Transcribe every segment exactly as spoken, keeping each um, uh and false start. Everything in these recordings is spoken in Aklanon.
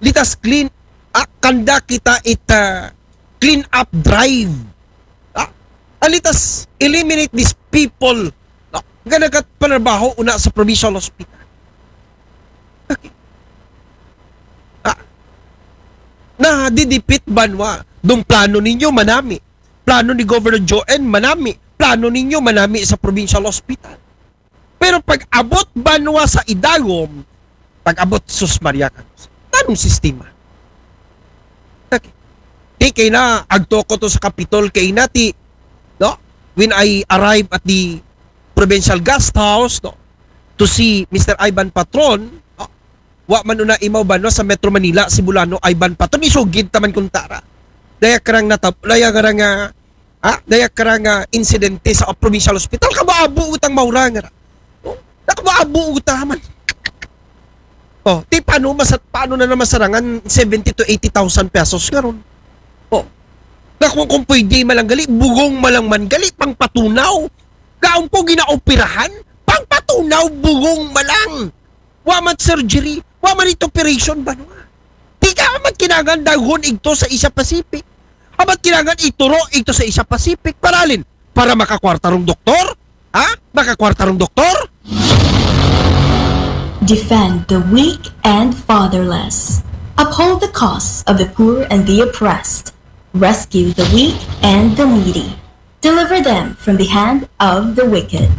let us clean, ah, kanda kita it, ah, clean up drive. Ah, and let us eliminate these people, no, nga nagapanarbaho una sa provincial hospital. Okay. Ah, na didipit banwa. Dong plano ninyo manami. Plano ni Governor Joen manami. Plano ninyo manami sa provincial hospital. Pero pag abot banwa sa idagom, pag abot, sus Maria, tanong sistema. Okay. Di kay na, agto ko to sa Capitol kay nati, no? When I arrive at the provincial guest house, no? To see Mister Ivan Patron, no? Wa man una imaw banwa sa Metro Manila, si Bulano Ivan Patron, isugid taman kuntara. Daya karang natab-, daya karang, ah, ha? Daya karang, ah, insidente sa provincial hospital, kabaabo utang maurang ra. Oh, nakabaabo uta man. Oh, ti paano masat-, paano na naman sarangan seventy to eighty thousand pesos karon? Oh. Nga kung, kung pwede malang gali, bugong malang man gali, pangpatunaw. Gaon po ginaoperahan, pangpatunaw, bugong malang. Wa man surgery, wa man it operation banwa. Di ka amat kinangan daghon igto sa Asia Pacific. Amat kinangan ituro igto sa Asia Pacific. Paralin, para makakwarta rong doktor? Ha? Makakwarta rong doktor? Defend the weak and fatherless. Uphold the cause of the poor and the oppressed. Rescue the weak and the needy. Deliver them from the hand of the wicked.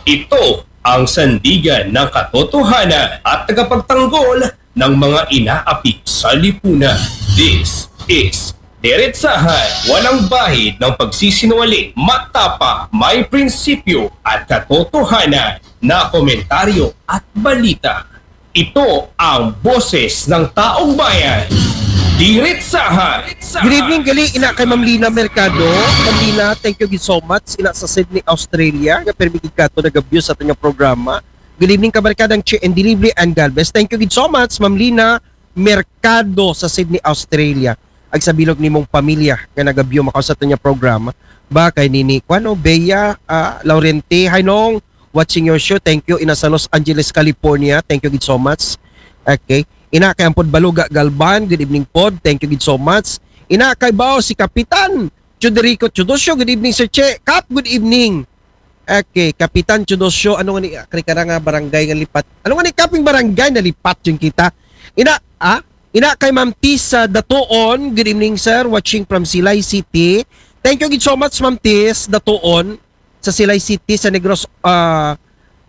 Ito ang sandigan ng katotohanan at tagapagtanggol ng mga inaaping sa lipunan. This is Diretsahan, walang bahid ng pagsisinungaling, matapang, may prinsipyo at katotohanan na komentaryo at balita. Ito ang boses ng taong bayan. Diretsahan. Good evening, gali, ina kay Ma'am Lina Mercado. Ma'am Lina, thank you gid so much. Ina sa Sydney, Australia, nga permi gid kato nagabyo sa atong programa. Good evening, kabarkadang Chi and Delivery and God bless. Thank you gid so much, Ma'am Lina Mercado sa Sydney, Australia. Ag sa bilog nimong pamilya nga nagabyo makaw sa atong programa. Ba kay nini, kuan, no, Bea, ah, Laurente, hi Nong, watching your show. Thank you, ina sa Los Angeles, California. Thank you gid so much. Okay. Ina kay Ampod Baluga Galban, good evening pod. Thank you gid so much. Ina kay Bao si Kapitan Chuderico Chudosyo, good evening Sir Che. Kap, good evening. Okay, Kapitan Chudosyo, ano nga ni, ah, kari ka na nga barangay nga lipat? Ano nga ni kaping barangay na lipat yung kita? Ina, ah? Ina kay Ma'am Tis, ah, Datuon, good evening sir, watching from Silay City. Thank you gid so much Ma'am Tis Datuon sa Silay City sa Negros, ah,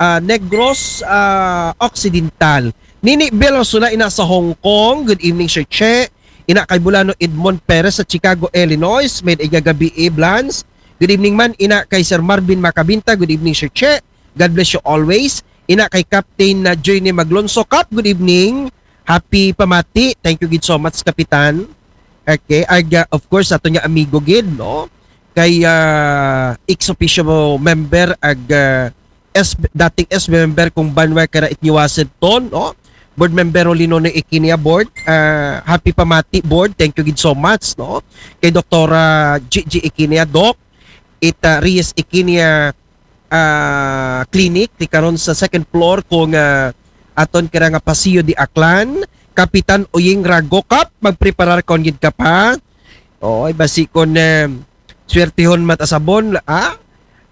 ah, Negros, ah, Occidental. Nini Bel Osuna, ina sa Hong Kong, good evening Sir Che. Ina kay Bulano Edmond Perez sa Chicago, Illinois, may igagabi, eh, Blans. Good evening man, ina kay Sir Marvin Macabinta, good evening Sir Che. God bless you always. Ina kay Captain na Joyne Maglonso, Kap, good evening. Happy pamati. Thank you gid so much, Kapitan. Okay, ag, ah, of course, ato niya amigo gid, no? Kay, ah, ex officio member ag, ah, S, dating S B member kung banwa kara it ni Washington, no? Board member Linono Ikinia, board. Ah, happy pamati, board. Thank you gid so much, no? Kay Doktora G G Ikinia, Doc. It, ah, Reyes Ikinia, ah, Clinic, ti karon sa second floor kung, ah, aton kira nga Paseo de Aklan. Kapitan Uying Rago, Kap, magpreparar kon gid ka pa. Oy, basi kon, eh, swertihon mat asabon, ha?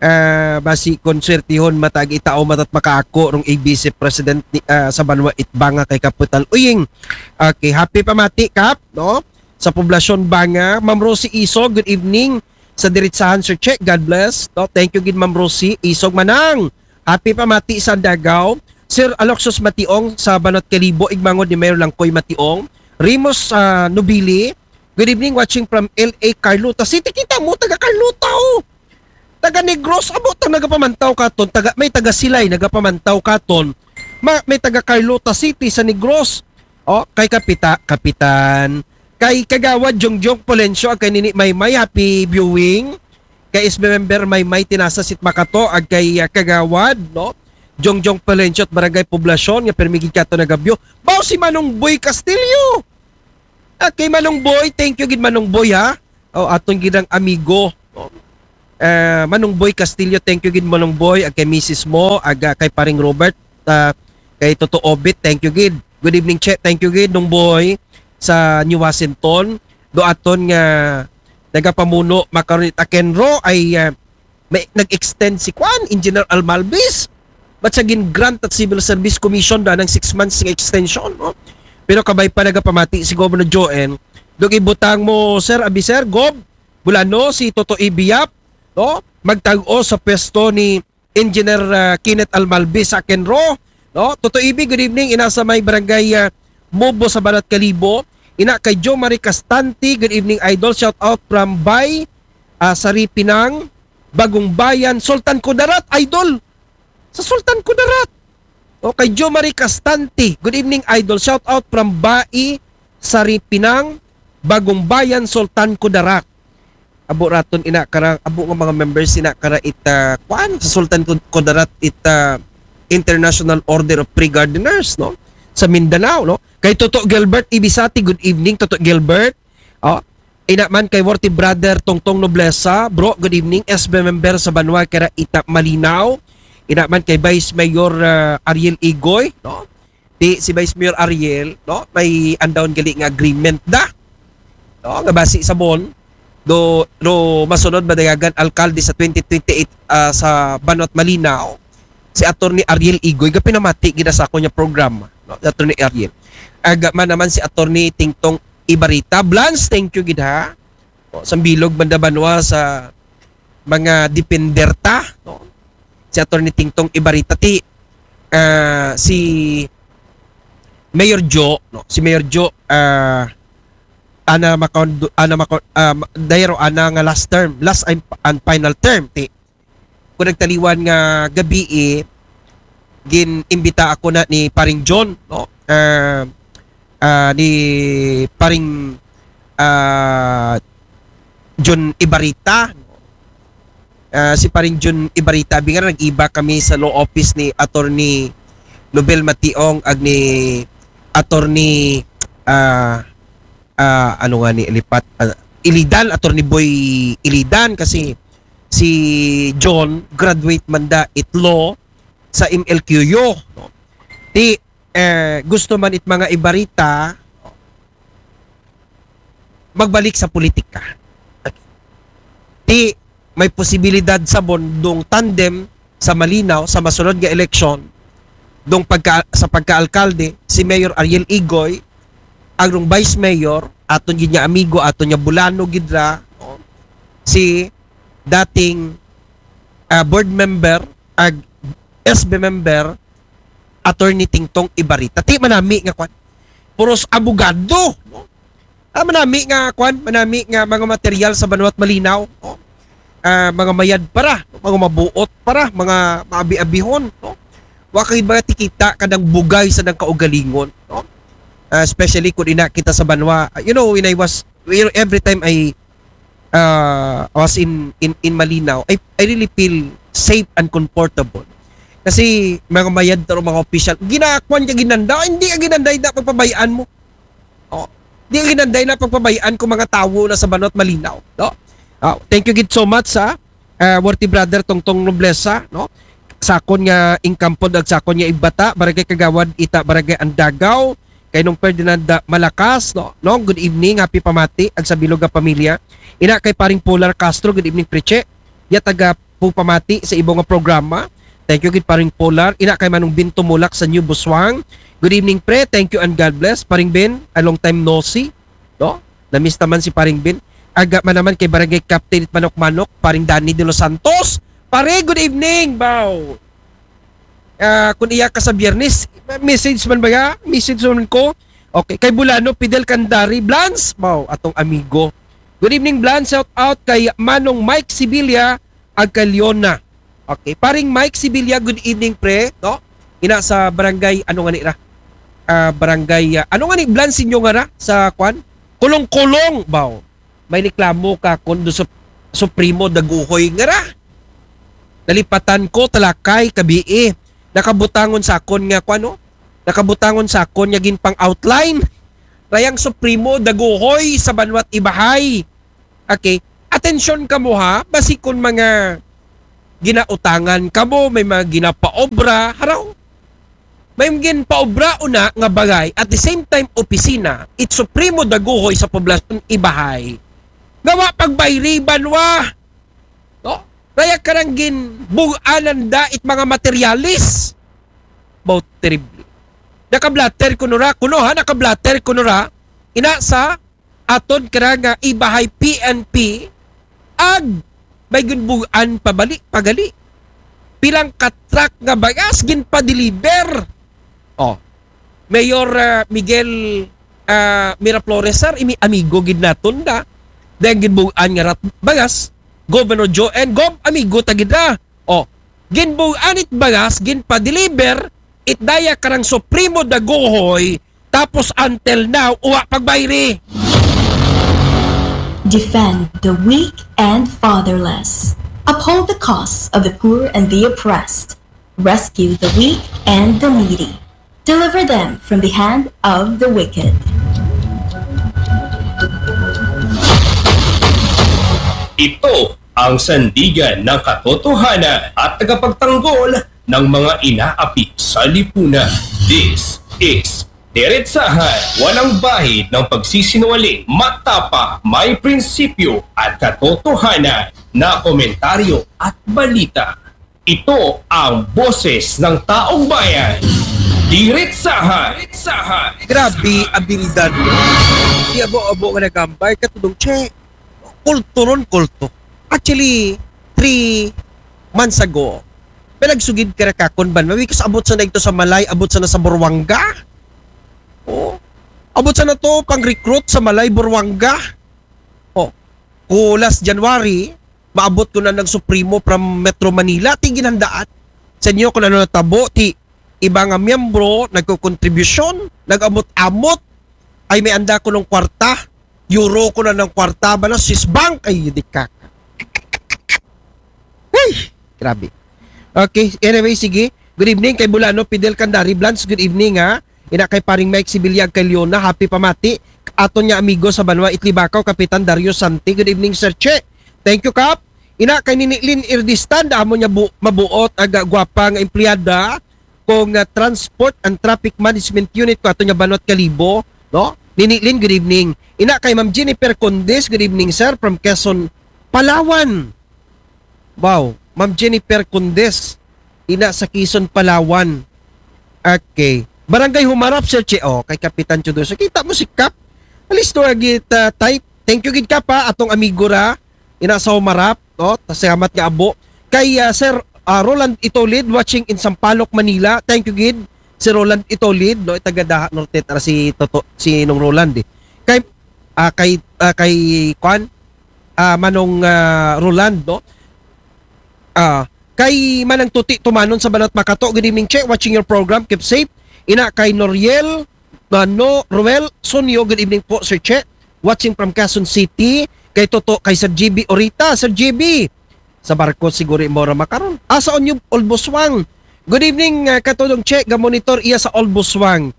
Ah, basi kon swertihon mat ag itao mat at makaako rong A B C president ni, ah, sa banwa it Banga kay Kapitan Uying. Okay, happy pamati, Kap, no? Sa poblasyon Banga. Ma'am Rosie Isog, good evening. Sa Diritsahan, Sir Che, God bless. No? Thank you gid, Ma'am Rosie Isog, Manang. Happy pamati sa Dagaw. Sir Aloxios Mationg sa Banat Kalibo, igmangod ni Mayor Langkoy Mationg. Remus, ah, Nobili, good evening, watching from L A, Carlota City. Kita mo, taga Carlota, oh. Taga Negros, abo, ta nagapamantaw katon. Taga, may taga Silay, nagapamantaw katon. Ma, may taga Carlota City sa Negros. Oh, kay Kapita, Kapitan. Kay Kagawad Jongjong Polencio, ag kay Nini Maymay, happy viewing. Kay S B member Maymay Tinasa Sit Makato, ag kay, ah, Kagawad, no? Jongjong Polencio at Barangay Poblacion, nga permi gid kato nagabyo. Bao si Manong Boy Castillo. Ah, kay Manong Boy, thank you gid Manong Boy, ha. Oh, aton gid ang amigo. Oh. Ah, Manong Boy Castillo, thank you gid Manong Boy, ag kay misis mo, ag, ah, kay Paring Robert. ah, kay Toto Obit, thank you gid. Good evening, Che, thank you gid, Nung Boy, sa New Washington. Do aton nga nagapamuno makaron it Akenro ay, ah, may nag-extend si kwan, Engineer Almalbis. But sa gin-grant at Civil Service Commission da ng six months nga extension, no? Pero kabay pa nagapamati si Governor Joen, dog ibutang mo, sir, abi sir, Gob, Bulano, si Toto Ibiyap, no? Magtag-o sa pwesto ni Engineer, ah, Kenneth Almalbis sa Akenro, no? Toto Ibi, good evening. Ina sa may barangay, ah, Mubo sa Banat Kalibo. Ina kay Joe Marie Castante, good evening, idol. Shout out from Bay, ah, Saripinang, Bagong Bayan, Sultan Kudarat, idol. Sa Sultan Kudarat. O kay Joe Marie Castante, good evening, idol. Shout out from Bai, Saripinang, Bagong Bayan, Sultan Kudarat. Abo raton ina kara, abo nga mga members ina kara ita, kwan, sa Sultan Kud-, Kudarat ita International Order of Pre-Gardeners, no? Sa Mindanao, no? Kay Toto Gilbert Ibisati, good evening, Toto Gilbert. Oh, ina man kay Worthy Brother Tongtong Noblesa, bro, good evening. S B member sa banwa kara ita Malinaw. Ina man kay Vice Mayor, ah, Ariel Igoy, no? Di si Vice Mayor Ariel, no? May andawon gali nga agreement da. No, nga basi sa bon, do, do masunod madayagan alkalde sa twenty twenty-eight, ah, sa Banwat Malinaw, si Attorney Ariel Igoy, ga pinamati gid sa ako niya programa, no? Si Attorney Ariel. Aga man naman si Attorney Tingtong Ibarita. Blans, thank you gid ha. O, sambilog man da banwa sa mga depender ta, no? Si Attorney Tingtong Ibarita ti, ah, si Mayor Joe, no? Si Mayor Joe, ah, ana makaon, ana makaon, ah, dayro ana nga last term, last and, and final term ti. Kung nagtaliwan nga gabii, gin-imbita ako na ni Paring John, no? Ah, ah, ni Paring, ah, John Ibarita. Ah, si Paring John Ibarita, abi nga nag-iba kami sa law office ni Attorney Nobel Mationg ag ni Attorney, ah, ah, ano nga ni Ilipat, ah, Ilidan, Attorney Boy Ilidan, kasi si John graduate man da it law sa M L Q U, no? Ti, eh, gusto man it mga Ibarita magbalik sa politika. Ti may posibilidad sa bon dong tandem sa Malinaw sa masunod nga eleksyon, dong pagka, sa pagkaalkalde, si Mayor Ariel Igoy, ang dong Vice Mayor, aton gid nga amigo, aton nga Bulano gid ra, no? Si dating, ah, board member, ag S B member, Attorney Tingtong Ibarita. Ti manami nga kwan. Puros abogado, no? Ah, manami nga kwan, manami nga mga material sa Banwat Malinaw, no? Ah, mga mayad para, mga mabuot para, mga maabi-abihon, no? Wa kay mga tikita kadang bugay sa nang kaugalingon, no? Ah, especially kung ina kita sa banwa. Ah, you know, when I was, you know, every time I, ah, was in, in, in Malinaw, I, I really feel safe and comfortable. Kasi mga mayad taro mga opisyal, ginakuan ka ginanda, hindi ka ginanda, hindi pagpabayaan mo. Oh, di ka ginanda na pagpabayaan kung mga tawo na sa Banwat Malinaw, no? Ah, thank you gid so much sa, ah, worthy brother Tongtong Noblesa, no? Sakon nga ingkampod ag sakon nga igbata, Barangay Kagawad, ita Barangay Andagaw, kay Nong Ferdinand, ah, Malakas, no? No, good evening, happy pamati ag sa bilog nga pamilya. Ina kay Paring Polar Castro, good evening, Preche. Ya taga pupamati sa ibo nga programa. Thank you gid Paring Polar. Ina kay Manong Bin Tumulak sa New Busuan. Good evening, pre. Thank you and God bless. Paring Ben, a long time no see. No? Namiss naman si Paring Ben. Aga man naman kay Barangay Captain it Manok-Manok, Paring Danny de los Santos. Pare, good evening, baw. Ah, kung iya ka sa Biyernes, message man ba ya? Message man ko. Okay, kay Bulano, Fidel Candari, Blans, baw, atong amigo. Good evening, Blans. Shout out kay Manong Mike Sibilia, ag kay Leona. Okay, Paring Mike Sibilia, good evening, pre, no? Ina sa barangay, ano nga ni ra? Ah, barangay, ah, ano nga ni Blans inyo nga ra? Sa kwan? Kulong-kulong, baw. May reklamo ka kung do Sup-, Supremo Daguhoy nga ra. Nalipatan ko, talakay, kabii. Nakabutangon sa akon nga, kwan, no? Nakabutangon sa akon nga ginpang outline. Rayang Supremo Daguhoy sa Banwat Ibahay. Okay. Atensyon kamo ha, basi kung mga ginautangan kamo, may mga ginapaobra, haraw. Kay ginpaobra una nga bagay, at the same time opisina, it supremo daguhoy sa poblasyon ibahay. Nga wa pagbayri banwa. No? Kaya karang ginbuganan da it mga materyales. About terrible. Nakablatter kuno ra, kuno ha, nakablatter kuno ra. Ina sa aton kara nga ibahay P N P, ag may ginbugan pabali, pagali. Pilang ka truck nga bagas ginpa-deliver. Oh. Mayor, ah, Miguel, ah, Miraflores, sir, imi amigo gid naton da. Dahil ginbugan nga rat bagas, Governor Joe N. Gov, amigo ta gid da. Oh. Ginbugan it bagas, ginpa-deliver, it daya karang supremo daguhoy, tapos until now, uwa pagbayri. Defend the weak and fatherless. Uphold the cause of the poor and the oppressed. Rescue the weak and the needy. Deliver them from the hand of the wicked. Ito ang sandigan ng katotohanan at tagapagtanggol ng mga inaapi sa lipunan. This is Diretsahan, walang bahid ng pagsisinungaling, matapang, may prinsipyo at katotohanan na komentaryo at balita. Ito ang boses ng taong bayan. Diretsahan. Diretsahan. Grabe, abilidad. Di abo-abo nga nagambay, katudong, che, kulto ron, kulto. Actually, three months ago, may nagsugid kara kakon banwa, because abot sa na ito sa Malay, abot sa na sa Buruanga. Oh. Abot sa na to, pang-recruit sa Malay, Buruanga. Oh. Ku last January, maabot ko na ng Supremo from Metro Manila, ti ginhandaan. Sa inyo kung ano natabo, ti iba nga miyembro, nagko-contribution, nag-amot-amot, ay may anda ko ng kwarta, euro ko na ng kwarta, ba na Swiss Bank, ay di ka. Ay, grabe. Okay, anyway, sige. Good evening kay Bulano, Fidel Candari, Blans, good evening ha. Ina kay paring Mike Sibilyag kay Leona, happy pamati. Aton nga amigo sa banwa, Itlibakaw, Kapitan Dario Santi, good evening Sir Che. Thank you, Kap. Ina kay Nini Lynn Irdistan, amo niya bu- mabuot, aga gwapa nga empleyada kung ah, Transport and Traffic Management Unit ko ato niya banwat Kalibo, no? Nini Lynn, good evening. Ina kay Ma'am Jennifer Condes, good evening sir, from Quezon, Palawan. Wow, Ma'am Jennifer Condes, ina sa Quezon, Palawan. Okay. Barangay Humarap, Sir Che. Oh, kay Kapitan Chudo. So, kita mo si Kap. Alis to agit uh, type. Thank you gid Kap ha, atong amigo ra. Ina sa Humarap, no? Salamat nga abo. Kay ah, Sir ah, Roland Itolid, watching in Sampaloc, Manila. Thank you gid. Si Roland Itolid, no? Taga Daha Norte, tara si Toto, si Nong Roland eh. Kay ah, kay ah, kay Kwan, ah, Manong ah, Roland, no? Ah, kay Manang Tuti Tumanon sa Banat Makato, good evening Che, watching your program, keep safe. Ina kay Noriel, Mano, Roel, Sonio, good evening po Sir Che, watching from Quezon City. Kay Toto, kay Sir G B Orita, Sir G B, sa barko siguro mo ra makaron. Asa on yung Olboswang? Good evening, uh, Katodong Che, gamonitor iya sa Olboswang.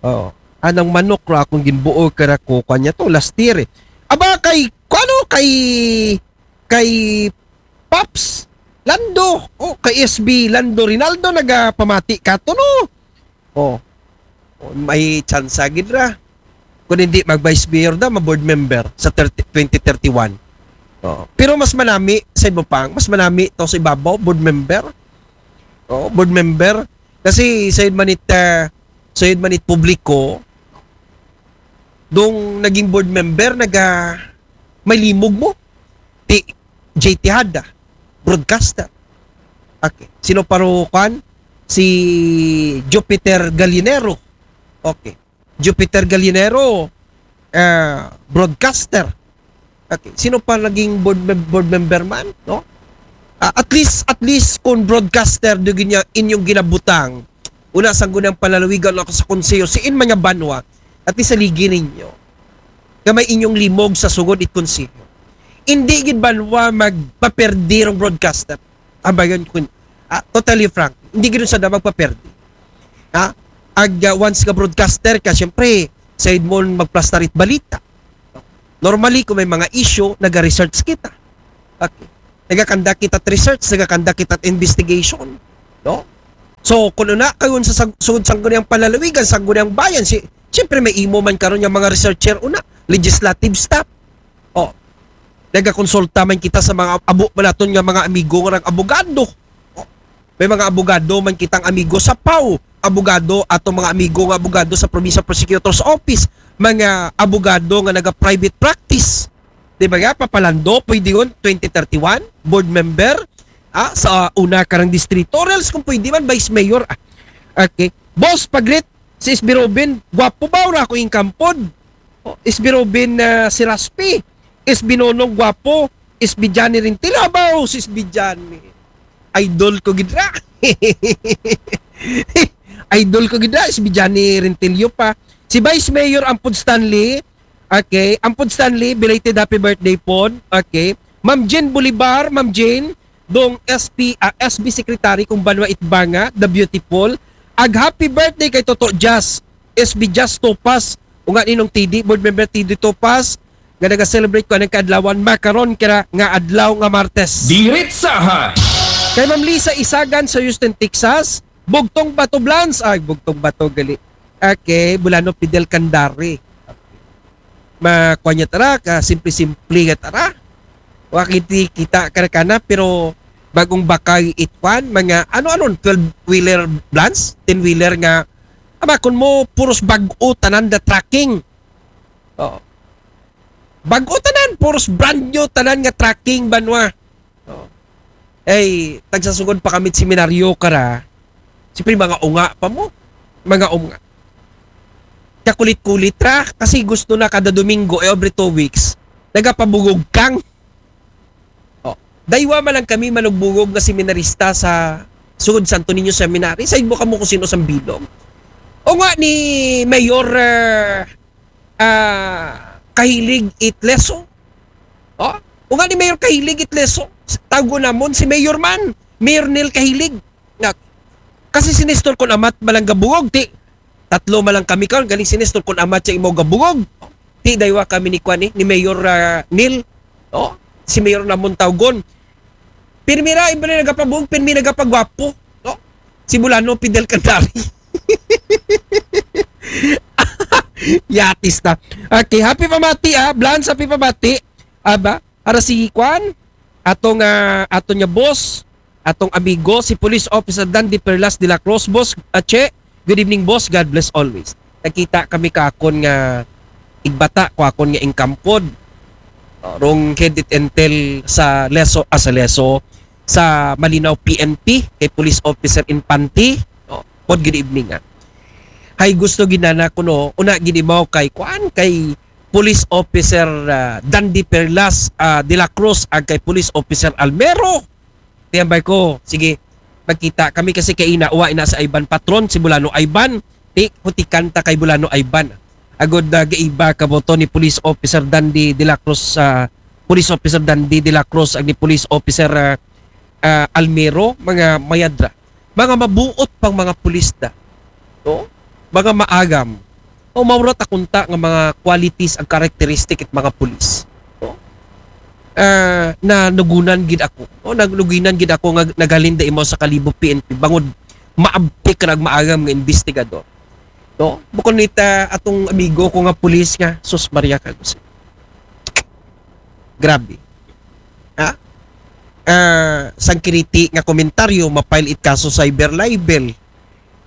Oh, anang manok ra akong ginbuo kara ko kanya to last year eh. Aba kay kuno kay kay Paps Lando, oh, kay S B Lando Rinaldo nagapamati ka to no. Oh. Oh, may tsansa gid ra. Kung hindi mag vice mayor da, ma board member sa thirty, twenty thirty-one. Oh. Pero mas manami sa Ibupang, mas manami to sa ibabaw, board member. Oh, board member. Kasi sa manit uh, sa manit publiko, dong naging board member, naga may limog mo. Ti J T Hada, broadcaster. Okay. Sino paro kwan? Si Jupiter Galinero. Okay. Jupiter Galinero, uh, broadcaster. Okay. Sino pa naging board, mem- board member man? No? Uh, at least, at least kung broadcaster do ginya inyong ginabutang, una sang gunang palalawigan ako sa konseho, si in mga banwa, at least sa ligi ninyo, nga may inyong limog sa sugod it konseho. Hindi gid banwa magpaperdi rong broadcaster. Abayon ko, ah, totally frank, hindi gid sa da magpaperdi. Ha? Ag uh, once ka broadcaster ka, siyempre, sa mo magplastar it balita. Normally, kung may mga issue, naga-research kita. Okay. Nagakanda kita research, nagakanda kita investigation. No? So, kung una, kayo sa sag-, sugod sangguniang palalawigan, sangguniang bayan, si, siyempre may imo man karon nga mga researcher una, legislative staff. Oh, nagakonsulta man kita sa mga abo man naton nga mga amigo nga nag-abogado. Oh, may mga abogado man kitang amigo sa pau, abogado ato mga amigo nga abogado sa Provincial Prosecutor's Office, mga abogado nga naga-private practice. Di ba nga, Papa Lando, pwede yun, twenty thirty-one, board member, ah, sa una karang distrito, or else kung pwede man, vice mayor. Ah, okay. Boss, paglit, si S B Robin, gwapo ba? Ura ko yung kampod. Oh, S B Robin, ah, si Raspi, S B Nonong, gwapo, S B Johnny Rintil, abaw, si S B Johnny. Idol ko gidra. Idol ko gidra, S B Johnny Rintilio pa. Si Vice Mayor Ampod Stanley, okay, Ampod Stanley, belated happy birthday pod. Okay. Ma'am Jane Bolivar, Ma'am Jane, dong S P, ah, S B Secretary kung Banwa Itbanga, the beautiful. Ag happy birthday kay Toto Jazz, S B Jazz Topas, unga ninong T D, board member T D Topas, nga naga-celebrate ko anang kaadlawan, makaron kira nga adlaw nga Martes. Diretsahan! Kay Ma'am Lisa Isagan sa Houston, Texas, Bugtong Bato Blans, ay, Bugtong Bato gali. Okay, Bulano Fidel Kandari. Makuha niya tara, ka simple-simple nga tara. Wa kiti kita karakana, pero bagong bakay itwan, mga ano-ano, twelve-wheeler Blans, ten-wheeler nga, ama, kun mo, puros bag-o tanan the tracking. Oh. Bag-o tanan, puros brand new tanan nga tracking, Banwa. Oh. Ay, tagsasugod pa kami seminaryo kara. Siyempre, mga unga pa mo. Mga unga. Kakulit-kulit ra, kasi gusto na kada Domingo, eh, every two weeks, nagapabugog kang. Oh. Daywa man lang kami manugbugog nga seminarista sa sugod Santo Niño Seminary. Sa mo kamo kung sino sang bilog. O nga ni Mayor, ah, ah, Kahilig Itleso. Oh? O nga ni Mayor Kahilig Itleso. Tawgo namon si Mayor man. Mayor Neil Kahilig. Nga, kasi sinistor ko namat malang gabugog, ti. Tatlo malang kami karon, galing sinistor ko namat sa imo gabugog. Ti, daywa kami ni kwan, eh, ni Mayor, ah, Neil. Oh? Si Mayor namon tawgon. Pirmi ra, iba na nagapabugog, pirmi nagapagwapo. No? Si Bulano Fidel Candari. Yatis na. Okay, happy pamati, ah. Blans, happy pamati. Aba, ara si kwan, atong, ah, ato niya boss, atong amigo, si Police Officer Dandy Perlas de la Cruz. Boss, ah, Che, good evening, boss. God bless always. Nakita kami kakon nga igbata ko akon nga ingkampod. Oh, rong head it intel sa Leso, ah, sa Leso, sa Malinaw P N P, kay Police Officer Infante. Oh, pod, good evening, ah. Hay, gusto ginana ko, no, una ginimaw kay, kuan, kay Police Officer, ah, Dandy Perlas, ah, de la Cruz, ag kay Police Officer Almero. Tiyambay ko, sige, magkita kami kasi kay ina, uwa ina sa Ivan Patron, si Bulano Ivan. Ti, hutikan ta kay Bulano Ivan. Agod na gaiba ka boto ni Police Officer Dandy de la Cruz, ah, Police Officer Dandy de la Cruz, ag ni Police Officer, ah, ah, Almero, mga mayadra. Mga mabuot pang mga pulis da. No? Mga maagam. O maurat akunta nga mga qualities ag characteristic it mga pulis. No? Ah, na nugunan gid ako. No? Nag-, nuginan gid ako nga naghalin da imaw sa Kalibo P N P. Bangod maabtik kag maagam nga investigador. No? Bukon nita atong amigo ko nga pulis nga, sus Maria, kag grabe. Ha? Ah, sangkiriti nga komentaryo, ma-file it kaso cyber libel.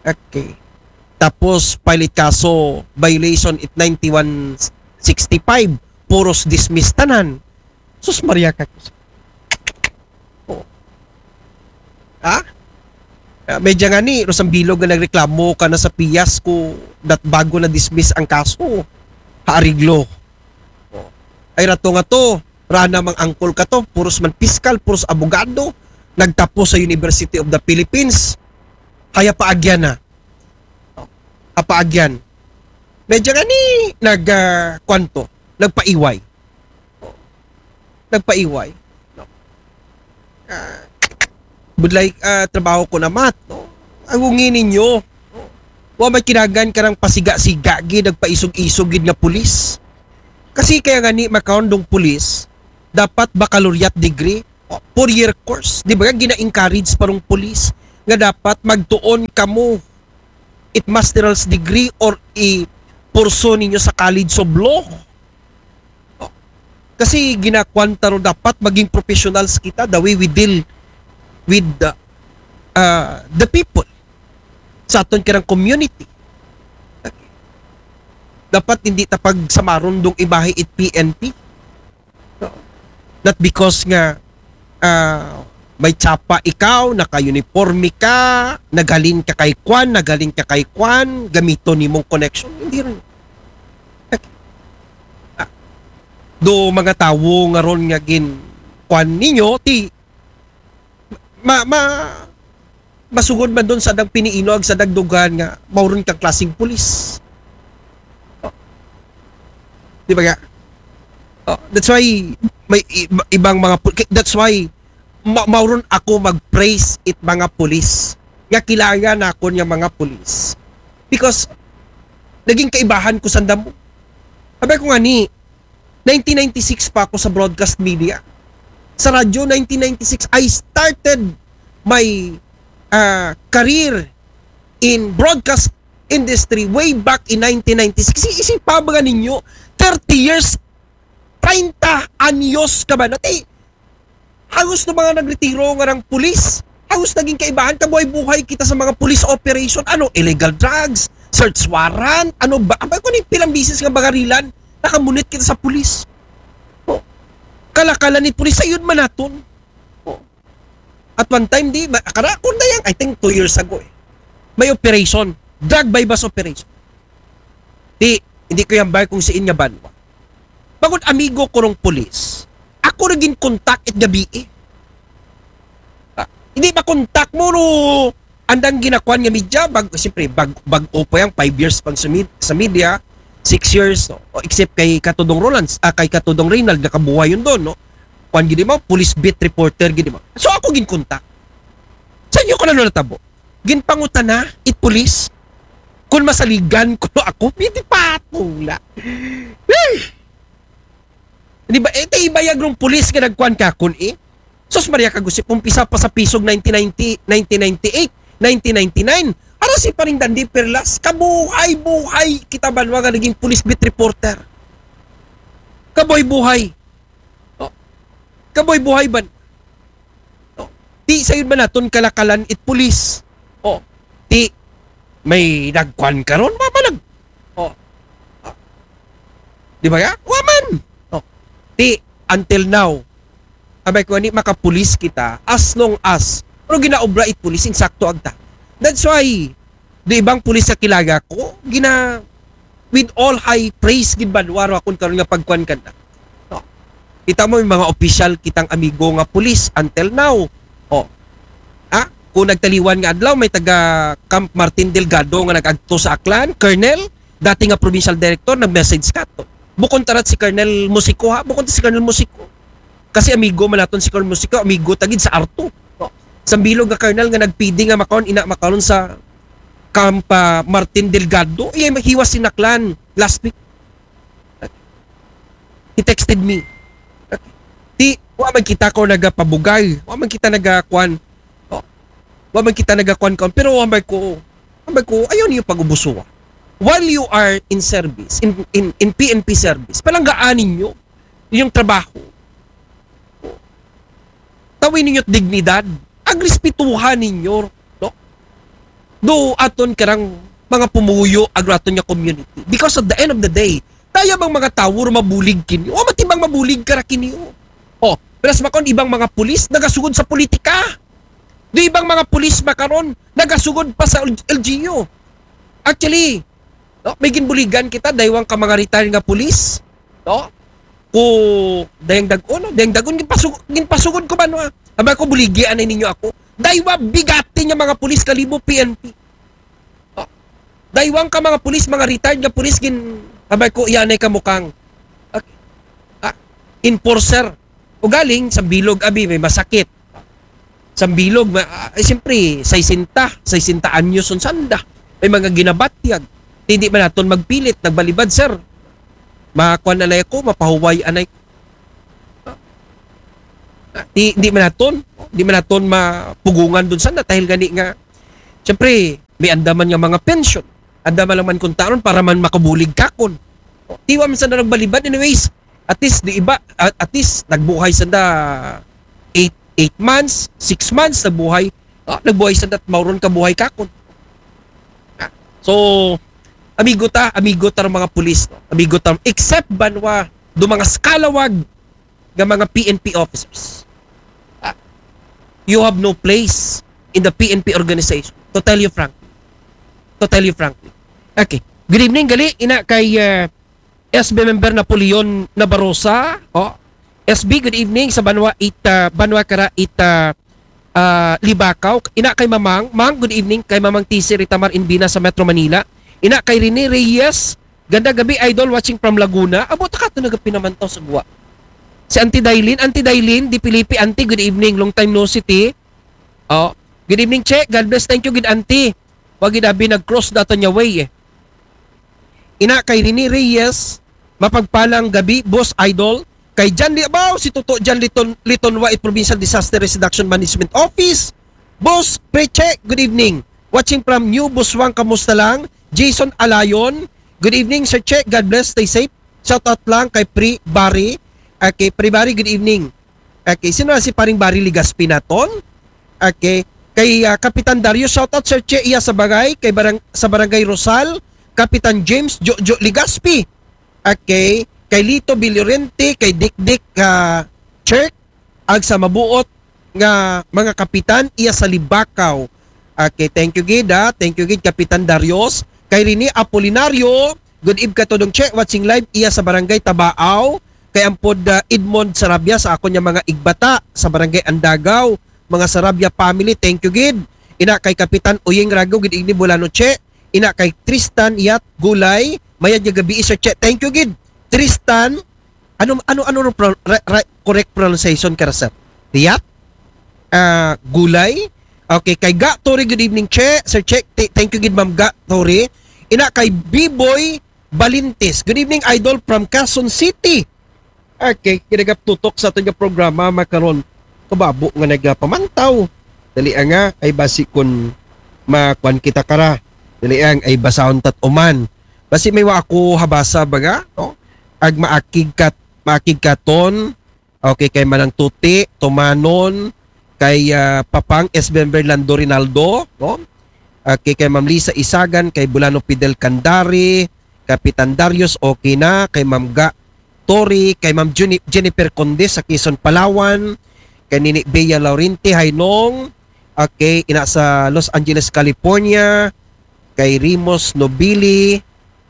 Okay. Tapos, file it kaso violation it ninety-one sixty-five. Puros dismiss tanan. Sus Maria, kag Oh. Ha? Ah, medya nga ni Rosang Bilog nga nagreklamo ka na sa piyas ko dat bago na dismiss ang kaso. Ha ariglo. Oh. Ay rato nga to, rana mang angkol ka to, puros man piskal, puros abogado, nagtapos sa University of the Philippines. Haya paagyan na. Oh. Hapaagyan. Medya nga ni nag, ah, kwanto, nagpaiway. Nagpaiway. No? Ah, budlay, ah, trabaho ko na mat, no? Ang ungi ninyo, no? Wa may kinagan karang pasiga-siga gid, nagpaisog-isog gid nga pulis. Kasi kaya nga ni makaon dong pulis, dapat baccalaureate degree, o, four-year course. Di ba? Gina-encourage pa rong pulis. nga dapat magtuon kamo it master's degree or i-pursue ninyo sa College of Law. Kasi ginakuan ta ro dapat maging professionals kita the way we deal with the, uh, the people sa aton kanang community. Dapat hindi ta pagsamaron dong ibahi it P N P. Not because nga, ah, may tsapa ikaw, naka-uniforme ka, naghalin ka kay kwan, naghalin ka kay kwan, gamiton nimong connection. Hindi rin. Ah, do mga tawo nga ron nga gin kwan ninyo, ti ma, ma, masugod man dun sa dang piniino ag sa dagdugan nga mauron kang klaseng pulis. Oh. Di ba nga? Oh, that's why may i- ibang mga pu- that's why ma- mauron ako mag-praise it mga pulis nga kilala na ako niya mga pulis because naging kaibahan ko sa damo. Sabi ko nga ni, nineteen ninety-six pa ako sa broadcast media. Sa radyo, nineteen ninety-six, I started my uh, career in broadcast industry way back in nineteen ninety-six. Kasi isip pa ba ninyo, thirty years, treinta anyos ka ba? Nati, halos no mga nagretiro nga rang pulis, halos naging kaibahan, kabuhay-buhay kita sa mga police operation. Ano, illegal drugs, search warrant, ano ba? Abay ko ni pilang bisis nga bagarilan, nakamunit kita sa pulis. Oh. Kalakala ni pulis, sayod man naton. Oh. At one time, di, ba, kara, kung dayang, I think two years ago eh, may operation, drug buy-bust operation. Di, hindi ko yung bar kung siin nga banwa. Bangod amigo ko rong pulis, ako ra gin contact it gabi eh. Ah, hindi ba contact mo no andang ginakuan nga media? Bag, siyempre, bag, bag-o pa yang five years pang sa, med- sa media, six years, no? O, except kay Katudong Roland, ah, kay Katudong Reynald, nakabuhay yun doon, no? Kuan gini mo, police beat reporter gini mo. So ako gin contact. Sa inyo ko na natabo. Ginpangutana, it police, kung masaligan ko ako, hindi patula. Hey! Di ba? Eh, tay ibayag rong pulis nga nagkuan ka kun eh. Sus Maria Kagusip, umpisa pa sa pisog nineteen ninety, nineteen ninety-eight, nineteen ninety-nine. Ara si Paring Dandi Perlas, kabuhay-buhay kita banwa nga naging police beat reporter. Kabuhay-buhay. Oh. Kabuhay-buhay ban. Oh. Ti sayod man naton kalakalan it pulis. Oh. Ti may nagkuan karon, mama nag. Oh. Ah. Di ba ya? Waman. Oh. Ti until now, abay ko ni makapulis kita as long as pero ginaobra it pulis insakto agta. That's why di ibang pulis sa kilaga ko, gina with all high praise gid banwa ro akon karon nga pagkuan kanta. No. Kita mo yung mga opisyal kitang amigo nga pulis until now. Oh. Ha? Kung nagtaliwan nga adlaw may taga Camp Martin Delgado nga nag-agto sa Aklan, Colonel, dati nga provincial director, nag-message ka to. Bukon tarat si Colonel Musico ha, bukon si Colonel Musico. Kasi amigo man naton si Colonel Musico, amigo tagid sa Arto. No. Sambilog nga Colonel nga nagpidi nga makaon, ina makaon sa Camp ah, Martin Delgado, iya hiwas sinaklan last week. He texted me. Ti, wa man kita ko nagapabugay. Wa man kita nagakuan. Oh. Wa man kita nagakuan kaon. Pero wa man ko, wa man ko, ayaw niyo pag-ubusuwa. While you are in service, in, in, in P N P service, palanggaan ninyo inyong trabaho. Tawin ninyo dignidad. Agrespetuhan ninyo, no? Do aton karang mga pumuyo ag aton nga community. Because at the end of the day, tayo bang mga tawo mabulig kinyo? O matibang mabulig kara kinyo. Oh, pero sa makon ibang mga pulis nagasugod sa politika. Do ibang mga pulis makaron nagasugod pa sa L G U. Actually, no, may ginbuligan kita daywang ka mga retired nga pulis, no? Ko dayang dagon, no? Dayang dagon ginpasug ginpasugod ko ba no? Aba ko buligi anay ninyo ako. Daywa bigati nga mga pulis kalibo P N P. Oh. Daywang ka mga pulis, mga retired nga pulis gin abay ko iyanay ka mukang okay. Ah, enforcer. Ugaling sa bilog abi may masakit. Sa bilog ma, ah, eh, siyempre, sesenta, sesenta anyos son sanda. May mga ginabatyag. Hindi man naton magpilit, nagbalibad, sir. Makuan anay ko, mapahuway anay ko. Ah, di, di man naton, di man naton mapugungan dun sana dahil gani nga, siyempre, may andaman nga mga pension. Andaman lang man kuntaron para man makabulig kakon. Tiwa man sana nagbalibad. Anyways, at least, di iba, at, at least, nagbuhay sanda eight, eight months, six months, nagbuhay. Ah, nagbuhay sanda at mauron kabuhay kakon. Ah, so, amigo ta, amigo ta ng mga pulis, no? Amigo ta, except banwa, do mga skalawag nga mga P N P officers. Ah, you have no place in the P N P organization. To tell you frankly. To tell you frankly. Okay. Good evening, gali, ina kay uh, S B member Napoleon Nabarosa. Oh. S B, good evening sa Banwa Ita, Banwa Kara Ita, uh, Libakaw. Ina kay Mamang. Mang, good evening kay Mamang T C Ritamar Inbina sa Metro Manila. Ina kay Rene Reyes. Ganda gabi, idol, watching from Laguna. Abo, taka to nagapinamantaw sa guwa. Si Auntie Dailin. Auntie Dailin, di Pilipi, Auntie, good evening. Long time no see, ti. Oh. Good evening, Che. God bless. Thank you, good Auntie. Wag gid abi nag-cross dato niya way eh. Ina kay Rene Reyes, mapagpalang gabi, boss idol. Kay John Li-, abaw, si Toto John Liton, Litonwa, it Provincial Disaster Risk Reduction Management Office. Boss Preche, good evening. Watching from New Buswang, kamusta lang? Jason Alayon, good evening, Sir Che. God bless, stay safe. Shout out lang kay Pre Barry. Okay, Pre Barry, good evening. Okay, sino na si Paring Barry Ligaspi naton? Okay. Kay ah, Kapitan Dario, shout out, Sir Che, iya sa bagay, kay barang, sa Barangay Rosal, Kapitan James Jojo Ligaspi. Okay. Kay Lito Villorente, kay Dikdik ah, Chirk, ag sa mabuot nga mga kapitan iya sa Libakaw. Okay, thank you gid, ha. Thank you gid, Kapitan Darius. Kay Rene Apolinario, good eve ka to, Dong Che, watching live iya sa Barangay Tabaaw. Kay ampod ah, Edmond Sarabia sa akon nga mga igbata sa Barangay Andagaw, mga Sarabia family, thank you gid. Ina kay Kapitan Uying Rago, good evening, Bulano Che. Ina kay Tristan Yat Gulay, mayad nga gabi, Sir Che. Thank you gid. Tristan, ano ano ano ro pro, re, re, correct pronunciation ka, sir? Yat? Ah, Gulay? Okay, kay Ga Tori, good evening, Che. Sir Che, t- thank you gid, Ma'am Ga Tori. Ina kay B-Boy Balintes. Good evening, idol, from Quezon City. Okay, kinagap tutok sa aton nga programa makaron. Kababo nga nagapamantaw. Dali nga ay basi kun makuan kita kara. Dali ang ay basahon tat uman. Basi may wa ako habasa baga, no? Ag maakig kat maakig katon. Okay, kay Manang Tuti, Tumanon, kay ah, Papang S. Member Lando Rinaldo, no? Okay, kay Ma'am Lisa Isagan, kay Bulano Fidel Candari, Kapitan Darius, okay na, kay Ma'am Ga Tori, kay Ma'am Juni- Jennifer Conde sa Quezon, Palawan, kay Nini Bea Laurenti, Hainong, okay, ina sa Los Angeles, California, kay Rimos Nobili,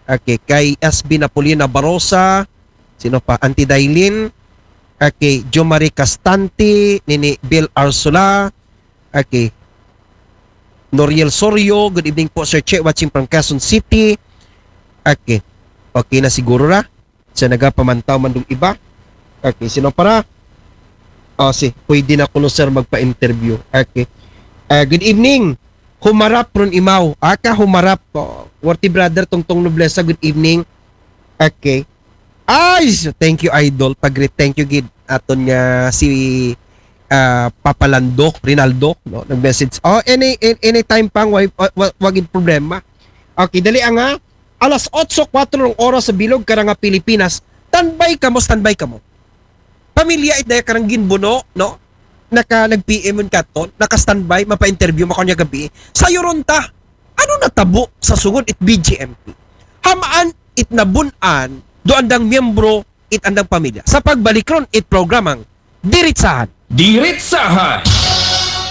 okay, kay S B Napolina Barosa, sino pa? Auntie Dailin, okay, Jomari Castante, Nini Bill Arsola, okay, Noriel Sorio, good evening po, Sir Che, watching from Quezon City. Okay. Okay na siguro ra. Sa nagapamantaw man dong iba. Okay, sino para? Oh, si, pwede na kuno, sir, magpa-interview. Okay. Ah, good evening. Humarap ron imaw. Aka humarap. Oh, worthy brother, Tongtong Noblesa, good evening. Okay. Ay, so, thank you, idol. Pag-greet, thank you gid. Aton nga si ah, Papa Lando, Rinaldo, no? Nag-message. Oh, any, any anytime pang wa, wa, wa, wagid problema. Okay, dali ang ah, alas otso kwatro ng oras sa bilog karang nga Pilipinas. Standby kamo, standby kamo. Pamilya it daya karang ginbuno, no? Naka nag-P M un katon, naka-standby, mapa-interview makaon niya gabi. Sayo ron ta. Ano natabo sa sugod it B J M P? Hamaan it nabun-an do andang miyembro it andang pamilya. Sa pagbalik ron it programang Diritsahan. Diritsahan.